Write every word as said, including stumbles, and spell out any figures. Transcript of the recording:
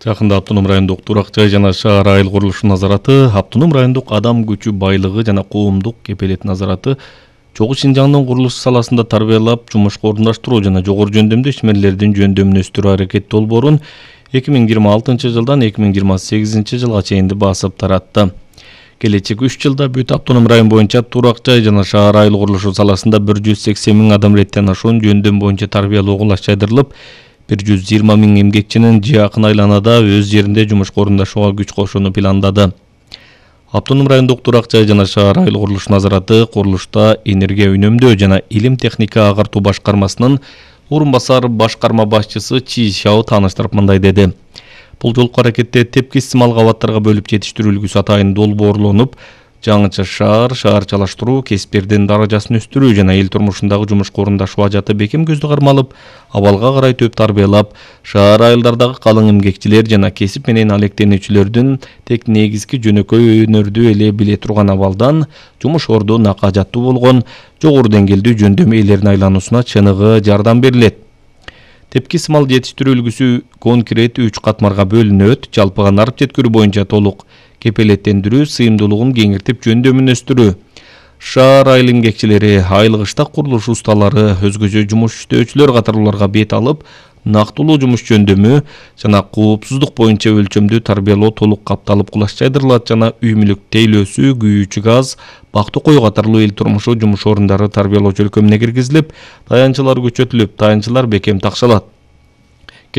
Жакында Автоном райондук турак жай жана шаар айыл курулушу назараты, Автоном райондук адам күчү байлыгы жана коомдук кепелет назараты Чогуу Шинжаңдын курулуш саласында тарбиялап, жумушка орундаштыруу жана жогору жөндөмдүү ишмерлердин жөндөмүн өстүрүү аракет долбоорун эки миң жыйырма алтынчы жылдан эки миң жыйырма сегизинчи жылга чейин басып таратты. Келечек үч жылда бүт Автоном район боюнча турак жай жана шаар айыл курулушу саласында бир жүз сексен миң адам реттен ашуун жөндөм боюнча тарбиялоо кылаш жайдырылып, бир жүз жыйырма миң эмгекчинин жакын айланада өз жеринде жумушка орундашууга күч кошууну пландады. Автоном райондук турак жай жана шаар айыл курулуш назараты курулушта энергия үнөмдөө жана илим техника агартуу башкармасынын орун басар башкарма башчысы Чи Шао тааныштырып мындай деди. Бул жолку аракетте тепкис мал кабаттарга бөлүп жетиштирүү үлгүсү атайын долбоорлонуп, жаңыча шаар, шаарчалаштыруу, кесиптердин даражасын өстүрүү жана эл турмушундагы жумушка орундашуу ажаты бекем көздү кармалып, абалга карай төп тарбиялап, шаар айылдардагы калың эмгекчилер жана кесип менен алектенүүчүлөрдүн тек негизги жөнөкөй өнөрдү эле биле турган абалдан жумуш орду накка жаттуу болгон жогору деңгээлдүү жөндөм ээлерин айлануусуна чыныгы жардам берилет. Тепкис мал жетиштирүү үлгүсү конкрет үч катмарга бөлүнөт. Жалпыга нарып жеткирүү боюнча толук кепелеттендирүү, сыйымдуулугун кеңиртип жөндөмүн өстүрүү. Шаар айыл эмгекчилери, айыл кыштак курулуш усталары, өзгөчө жумуш иштөөчүлөр катарлууларга бет алып, нактылуу жумуш жөндөмү жана коопсуздук боюнча өлчөмдүү тарбиялоо толук капталып кулаш жайдырылат жана үй мүлүк тейлөөсү, күйүүчү газ, бактуу кой катарлуу эл турмушу жумуш орундары тарбиялоо чөлкөмүнө киргизилип, таянчылар күчөтүлүп, таянчылар бекем такшалат.